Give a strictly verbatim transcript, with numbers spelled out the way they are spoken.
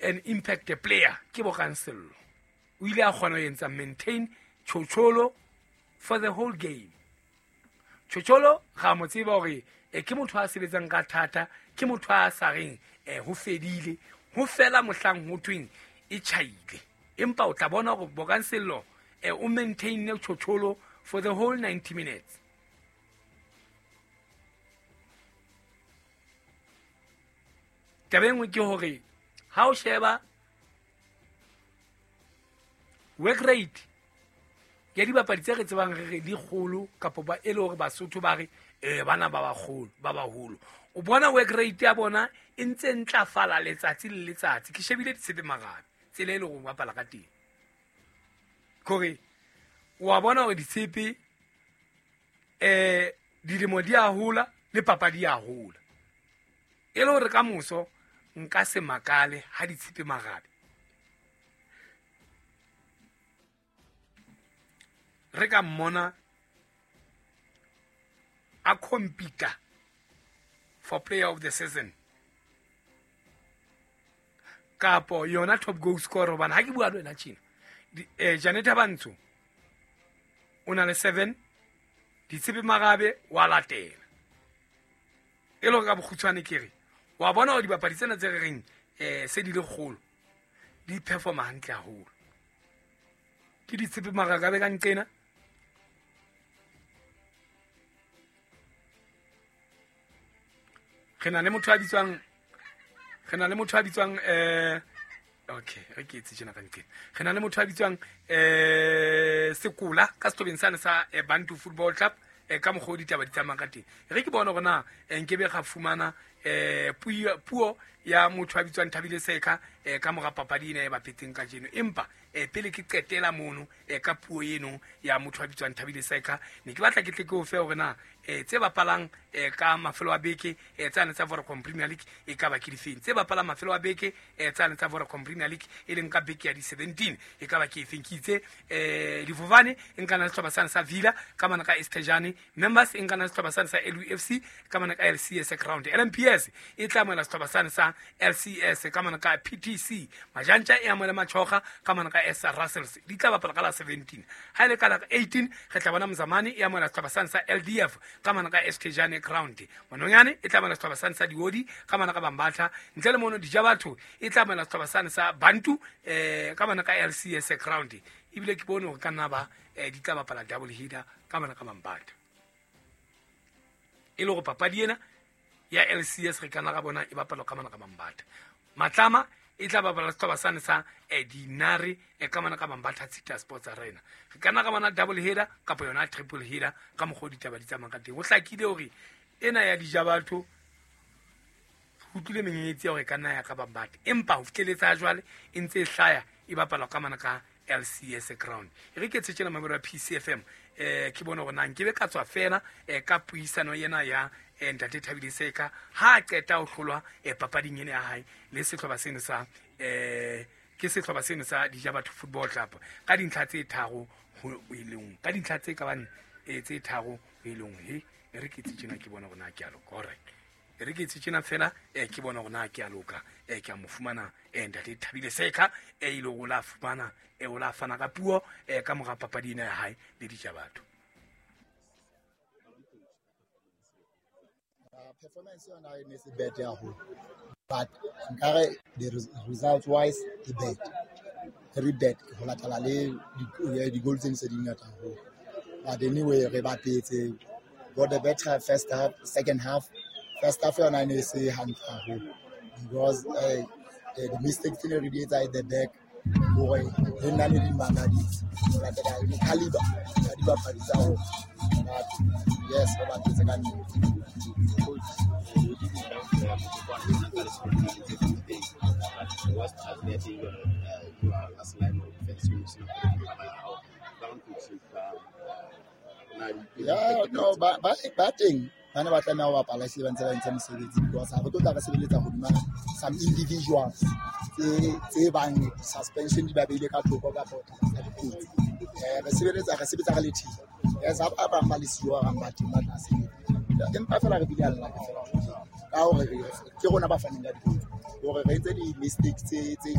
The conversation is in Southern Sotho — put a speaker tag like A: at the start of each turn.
A: an impact player ke Bokang Sello. O ile a kgona ho etsa maintain Chocholo for the whole game. Chocholo ga mo tseba hore e ke motho a sebetsang ka thata, ke motho a sa reng eh ho fedile, ho fela mohlang ho tweng e tjhaile. Empa o tla bona hore Bokang Sello eh o maintain Chocholo for the whole ninety minutes. Taba e nngwe ke hore ha o sheba work rate ya dibapadi tse re tsebang re re di kgolo kapa ba e le hore Basotho ba re eh bana ba bagolo ba baholo, o bona work rate ya bona e ntse ntlafala letsatsi le letsatsi. Ke shebile Ditshepe Marabe tsela e le hore bapala ka teng, kore wa bona hore Ditshepe eh dilemo di a hola le papadi ya hola. E le hore ka moso nka se makale ha Ditshepe Marabe re ka mmona a compete for player of the season kapo yona top goal scorer. Hobane ha ke bua le wena tjena, eh Janeta Bantsho o na le seven, Ditshepe Marabe wa latela. E le hore ka bokgutshwane ke re wa bona hore dibapadi tsena tse re reng eh se di le kgolo di performa hantle haholo. Ke Ditshepe Marabe ka nqena, re na le motho a bitswang re na le motho a bitswang eh okay re ke etse tjena ka nqena, re na le motho a bitswang eh Sekola ka sehlobeng sane sa Bantu Football Club. Ka mokgwa o ditaba di tsamayang ka teng, re ke bona hore na nkebe ga fumana eh puo ya motho a bitswang Thabile Seka ka mora papadi ena e bapetseng kajeno. Empa pele ke qetela mono ka puo eno ya motho a bitswang Thabile Seka, ne ke batla ke tle ke o fe hore na tse bapalang ka mafelo a beke tsane tsa Vodacom Premier League e ka ba ke difeng, tse bapalang mafelo a beke tsane tsa Vodacom Premier League e leng ka beke ya di seventeen e ka ba ke efeng. Ke itse eh Difofane e nkana sehlopha sane sa Villa ka mana ka Estejane, Members e nkana sehlopha sane sa L U F C ka mana ka L C S Ground, L M P S e tla amohela sehlopha sane sa L C S ka mana ka P T C, Majantja e amohela Machoga ka mana ka S Russells, di tla bapala ka la seventeen. Ha ile ka la eighteen re tla bona Mzamani e amohela sehlopha sane sa L D F ka mana ka Estejane Ground, Mononyane e tla amohela sehlopha sane sa Diodi ka mana ka Bambatha, ntle le mono Dijabatho e tla amohela sehlopha sane sa Bantu eh ka mana ka L C S Ground. Ebile ke bone hore ka nna ba di tla bapala double header ka mana ka Bambatha. E le hore papadi ena ya L C S re kana ga bona e bapalwa ka mana ka Bambatha. Matlama e tla bapala sehlopha sane sa Dinare e ka mana ka Bambatha City Sports Arena. Re kana ga bona double header kapa yona triple header ka mokgwa o ditaba di tsamayang ka teng. Ho hlakile hore ena ya Dijabatho ho tlile menyenyetsi ya hore ka nna ya ka Bambatha, empa ho fihleletsa jwale e ntse e hlaya e bapalwa ka mana ka L C S Ground. E re ke tshetjena mabero ya P C F M eh ke bona hore na nkebe ka tswa fela eh ka puisano ena ya ntate Thabile Seka ha a qeta ho hlolwa papading ena ya hae le sehlopha seno sa eh ke sehlopha seno sa Dijabatho Football Club ka dintlha tse tharo ho eleng ka dintlha tse ka bang tse tharo ho eleng. He e re ke tshetjena ke bona hore na ke a loka. Alright, e re ke tshetjena fela eh ke bona hore na ke a loka eh ke a mo fumana eh ntate Thabile Seka e ile go la fumana e o la fana ka puo eh ka mora papadi ena ya hae le Dijabatho.
B: Performance yona e ne se bad haholo, but nkare the results wise e bad, very bad ho latela le di goal tse ntse di ngata haholo. But anyway re bapetse, got the better first half, second half. First half yona e ne se hantle haholo because uh, the, the mistakes tse ne re di etsa at the back hore le nna ne di makaditse ho latela le caliber ya dibapadi tsa rona. But yes, re bapetse ka nnete. Yeah, no, ba ba ba teng ba ne ba tlameha ho bapala ehlile ba ntse ba entse mosebetsi because ha re tlo tla re sebeletsa hodima some individuals tse tse bang suspension di ba beile ka thoko kapa tsa dikotsi. Eh re sebeletsa re sebetsa re le team. Yes, ha ba bang ba le siyo ba bang ba teng ba tla sebetsa. Empa fela re bile a lla fela ka hore ke rona ba faneng ka dikotsi. Hore re entse di-mistakes tse tse